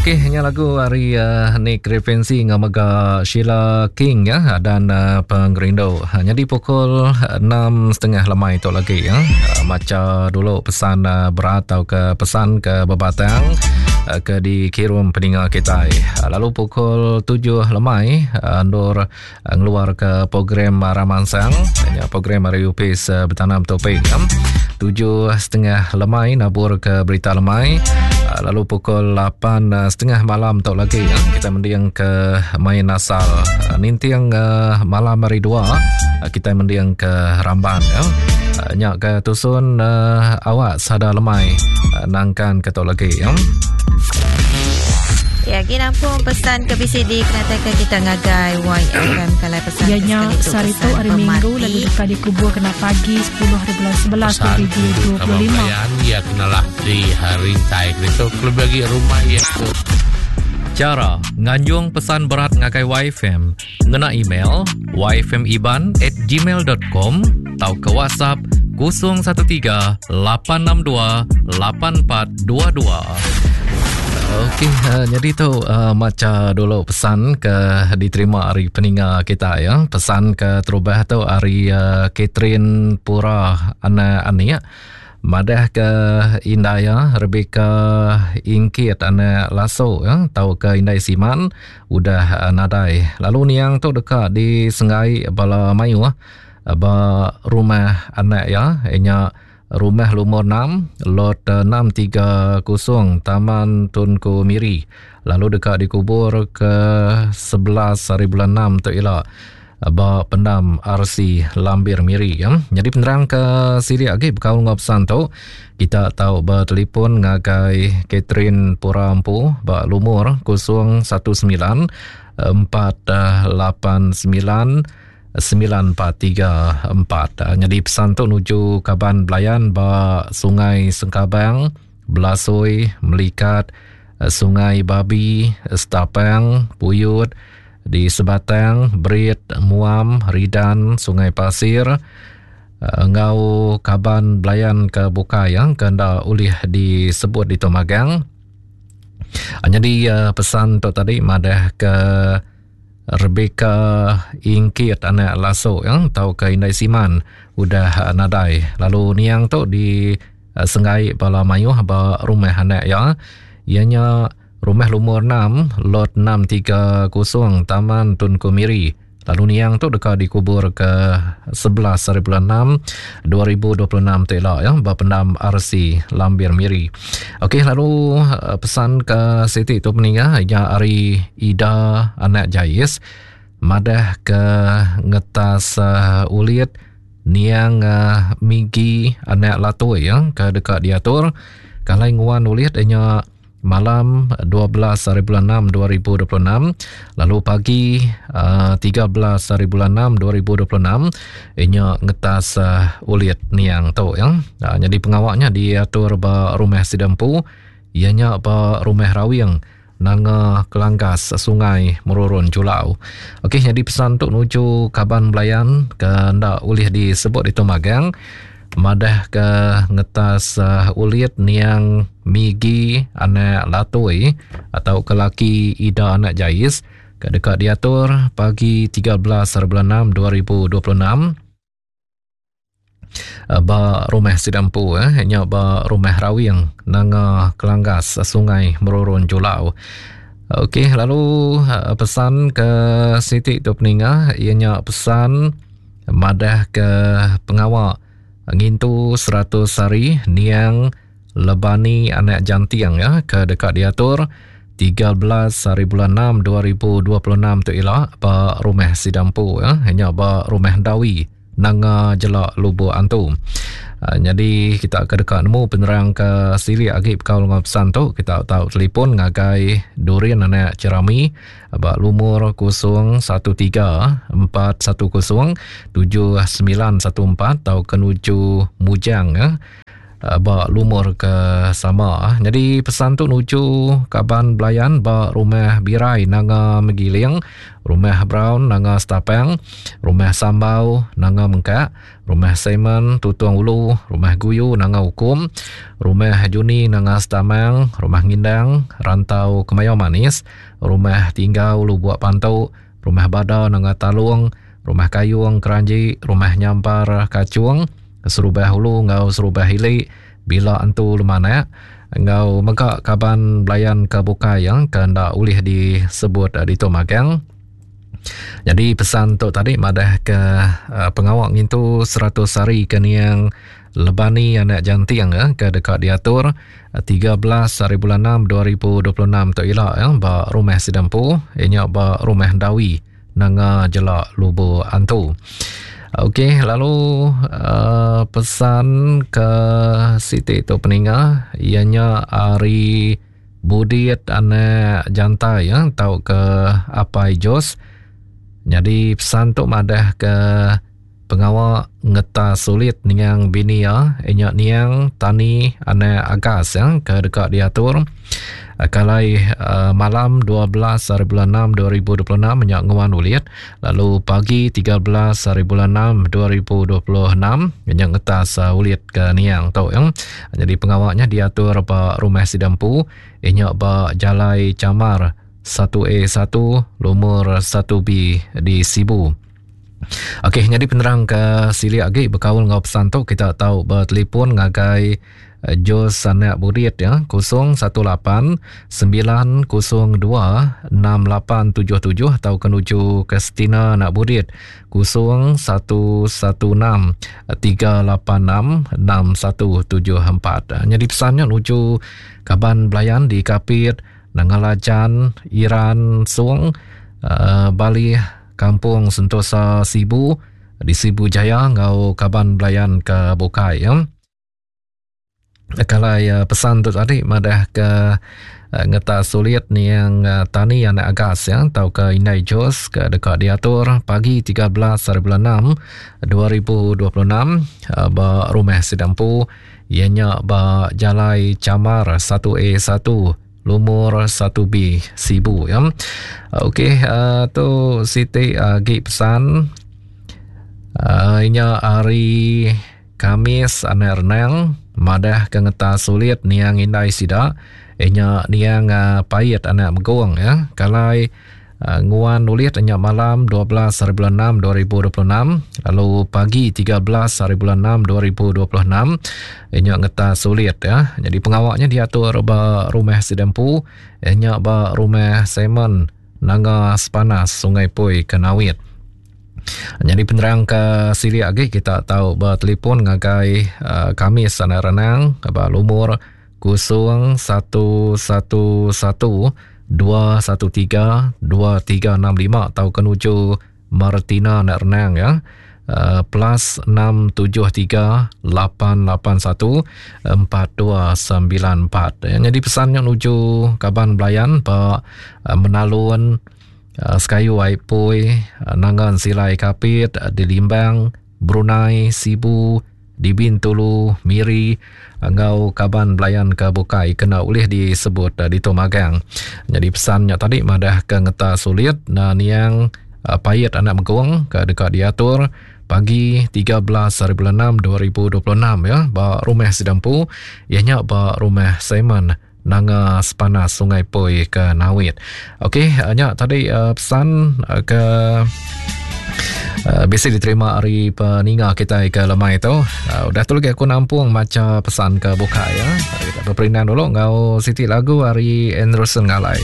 Okey, nya lagu ari uh, Nick Referensi ngau mega Sheila King ya dan uh, Pengerindu. Ha, jadi pukul 6.30 lemai tu lagi ya. Uh, maca dulu pesan uh, berat atau ke pesan ke bebatang uh, ke dikirim peninga kita. Uh, lalu pukul 7 lemai uh, ndur ngeluar ke program Ramansang nya program hari UPS eh, bertanam topik ya. 7.30 lemai nabur ke berita lemai eh, lalu pukul 8.30 malam tu lagi ya, kita mending ke main asal eh, ninting malam hari 2 kita mending ke ramban ya. Nya ke tusun awak sada lemai nangkan ke tu lagi ya. Ya, agi nampung pesan ke bisi dikenataika kita ngagai YFM kalai pesan Iya nya ke sekali tu sehari tu pesan hari Minggu pemati. lalu deka dikubur kena pagi 10 hari bulan 11 Pesan tuju kaban 2025. belayan iya kenalah di rintai ke ditu kelebih agi rumah iya tu. Chara nganjung pesan berat ngagai YFM ngena email yfmiban@gmail.com tauka WhatsApp 013 862 8422. Okey, uh, jadi tu uh, maca dulu pesan ke diterima ari peninga kita ya. Pesan ke terubah tu ari uh, Catherine Pura anak anik madah ke indai ya Rebecca Ingkit anak Laso ya tau ke indai Siman udah uh, nadai. Lalu niang tu deka disenggai bala mayuh ba rumah anak ya inya Rumah lumur 6, Lot 630, Taman Tunku Miri lalu deka dikubur ke 11 hari bulan 6 tu ila ba pendam RC Lambir Miri. Ya. Jadi penerang ke silik agi bekaul enggau pesan tu, kita tau betelefon ngagai Catherine Pura Empu ba lumur 019 489 9434. Nyadi pesan tu nuju kaban belayan ba Sungai Sengkabang, Belasoi, Melikat, Sungai Babi, Setapang, Puyut, di Sebatang, Berit, Muam, Ridan, Sungai Pasir enggau kaban belayan ke bukai ya, ke enda ulih disebut ditu magang. Nyadi pesan tu tadi madah ke Rebecca Ingkit anak Laso ya tauka Indai Siman udah nadai lalu niang tu di eh, senggai bala mayuh ba rumah anak iya iya nya rumah lumur 6 lot 630 Taman Tunku Miri lalu niang tu deka dikubur ke 11 hari bulan 6 2026 tu ila ya ba pendam RC Lambir Miri. Okey lalu eh, pesan ke siti tu peninga iya ari Ida anak Jais madah ke ngetas uh, ulit niang uh, Migi anak Latoi ya ke deka diatur kalai nguan ulit nya malam 12 hari bulan 6 2026 lalu pagi uh, 13 hari bulan 6 2026 inya ngetas uh, ulit niang tu ya. Uh, jadi pengawaknya diatur ba rumah Sidempu ianya ba rumah Rawing Nanga Kelanggas Sungai Merurun Julau. Okey jadi pesan tu nuju kaban belayan ke enda ulih disebut ditu magang madah ke ngetas uh, ulit niang Migi anak Latoi atau ke laki Ida anak Jais ke deka diatur pagi 13 hari bulan 6 2026 eh, ba rumah sida empu eh nya ba rumah Rawing Nanga Kelanggas Sungai Merurun Julau. Okey lalu eh, pesan ke siti tu peninga iya nya pesan madah ke pengawa ngintu 100 hari niang Lebani anak Janting ya ke deka diatur 13 hari bulan 6 2026 tu ila ba rumah sida empu ya nya ba rumah Dawi Nanga Jelak Lubok Antu. Uh, jadi kita ke deka nemu penerang ke silik agi bekaul enggau pesan tu kita tau telefon ngagai Durin anak Cerami ba lumur 013 410 7914 tau ke nuju Mujang ya. Ba lumur ke sama. Nyadi pesan tu nuju kaban belayan ba Rumah Birai Nanga Megiling, Rumah Brown Nanga Setapang, Rumah Sambau Nanga Mengkak, Rumah Simon Tutong Ulu, Rumah Guyu Nanga Ukum, Rumah Juni Nanga Setamang, Rumah Ngindang Rantau Kemayau Manis, Rumah Tinggau Lubuk Pantu, Rumah Bada Nanga Talung, Rumah Kayung Keranji, Rumah Nyampar Kachung, Serubah Ulu enggau Serubah Ili, Bila Entu Lemanak enggau mega kaban belayan ke bukai yang ke enda ulih disebut ditu magang. Jadi pesan tu tadi madah ke eh, pengawa ngintu 100 hari ke niang Lebani anak Janting eh, ke deka diatur 13 eh, hari bulan 6 2026 tu ila ba rumah Sidampu inya ba rumah Dawi Nanga Jelak Lubok Antu. Okey, lalu uh, pesan ke siti tu peninga ianya ari Budit anak Jantai ya tau ke Apai Jos. Jadi pesan tu madah ke Pengawa ngeta sulit niang bini iya inya niang Tani anak Agas ya ke deka diatur kalai uh, malam 12 hari bulan 6 2026 nya nguan ulit lalu pagi 13 hari bulan 6 2026 nya ngetas uh, ulit ke niang tu ya. Jadi pengawanya diatur ba rumah Sidampu inya ba Jalai Camar 1A1 lumur 1B di Sibu. Okey, nyadi penerang ke silik agi bekaul enggau pesan tu kita tau betelefon ngagai eh, Jos Sanak Budit ya 018 902 6877 atau kenuju ke Stina Nak Budit 0116 386 6174. Nyadi pesannya nuju kaban belayan di Kapit, Nangalajan, Iran, Sung, uh, Bali Kampung Sentosa Sibu di Sibu Jaya enggau kaban belayan ke bukai ya. Kalai eh, pesan tu tadi madah ke eh, ngeta sulit niang eh, tani anak agas ya tau ke Indai Jos ke deka diatur pagi 13 hari bulan 6 2026 ba rumah Sidampu iya nya ba Jalai Camar 1A1 lumur 1B Sibu ya. Okey uh, tu siti agi pesan uh, inya hari Kamis anak renang madah ke ngeta sulit niang indai sida inya niang uh, pait anak megong ya. Kalai uh, nguan ulit nya malam 12 hari bulan 6 2026 lalu pagi 13 hari bulan 6 2026 nya ngeta sulit ya. Jadi pengawaknya diatur ba rumah Sidempu nya ba rumah Simon Nanga Sepanas Sungai Pui Kenawit. Jadi penerang ke silik agi kita tahu ba telefon ngagai uh, kami sana renang ba lumur 0 1 1 1 2 1 3 2 3 6 5 tauka nuju Martina anak renang ya. Uh, plus 6 7 3 8 8 1 4 2 9 4. Ya, jadi pesannya nuju kaban belayan ba uh, Menalun uh, Sekayu Ai Pui uh, Nangan Silai Kapit uh, di Limbang Brunei, Sibu, di Bintulu, Miri enggau kaban belayan ke bukai kena ulih disebut eh, ditu magang. Nyadi pesan nya tadi madah ke ngeta sulit na niang eh, pait anak megong ke deka diatur pagi 13 hari bulan 6 2026 ya ba rumah Sidampu iya nya ba rumah Simon Nanga Sepanas Sungai Poi ke Nawit. Okey, eh, nya tadi uh, pesan uh, ke uh, bisi diterima ari peninga kita ke lemai tu. Uh, udah tu lagi aku nampung maca pesan ke buka ya. Kita berperindang dulu ngau siti lagu ari Anderson Ngalai.